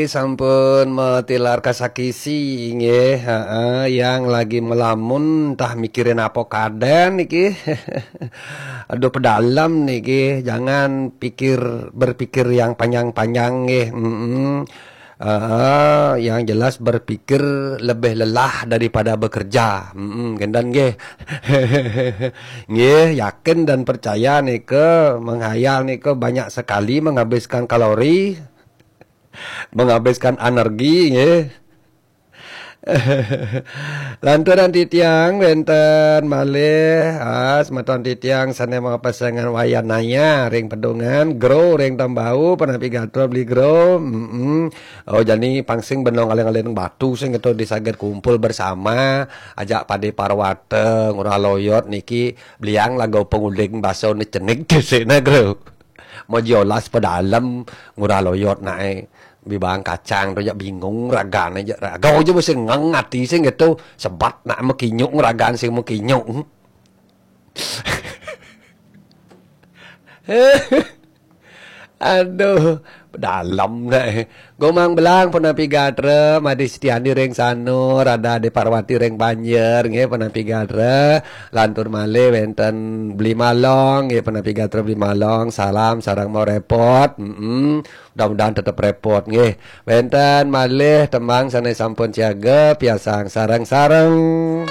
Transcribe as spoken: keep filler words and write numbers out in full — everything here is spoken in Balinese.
Sampun matilar kasakisi, nggih, heeh, yang lagi melamun, tah mikirin apa kaden niki. Aduh, pedalem niki, jangan pikir, berpikir yang panjang-panjang, nggih, mm-mm. Heeh, yang jelas berpikir lebih lelah daripada bekerja, mm-mm, genten, nggih. Nggih, yakin dan percaya nika, menghayal nika banyak sekali menghabiskan kalori, menghabiskan energi, nggih. Lanturan titiang wenten malih, ah, semeton titiang sane mapasengan wayanaya ring pedungan, gro ring tembau, punapi gatra beli gro. Mm-mm. Oh, jani pang sing benong aleng-aleng batu sing itu disaged kumpul bersama, ajak Pade Parwata, Ngurah Loyot niki, beliang laga penguding baso ni cenik disina, gro. Mau jiolas pedalem, Ngurah Loyot nae. Bibang kacang tu jak bingung ragane jak raga aja mesti ngeng ati sing gitu. Sebat nak mekinyuk ragan sing mekinyuk. Aduh, dalam dah. Gomang belang punapi gatra, Madi Setiani ring Sanur, ada Ade Parwati ring Banjar, nggih punapi gatra. Lantur malih wenten Beli Malong, nggih punapi gatra Beli Malong. Salam sareng mau repot. Mm-mm. Mudah-mudahan tetap repot, nggih. Wenten malih tembang sane sampun siaga, piasang sareng-sareng.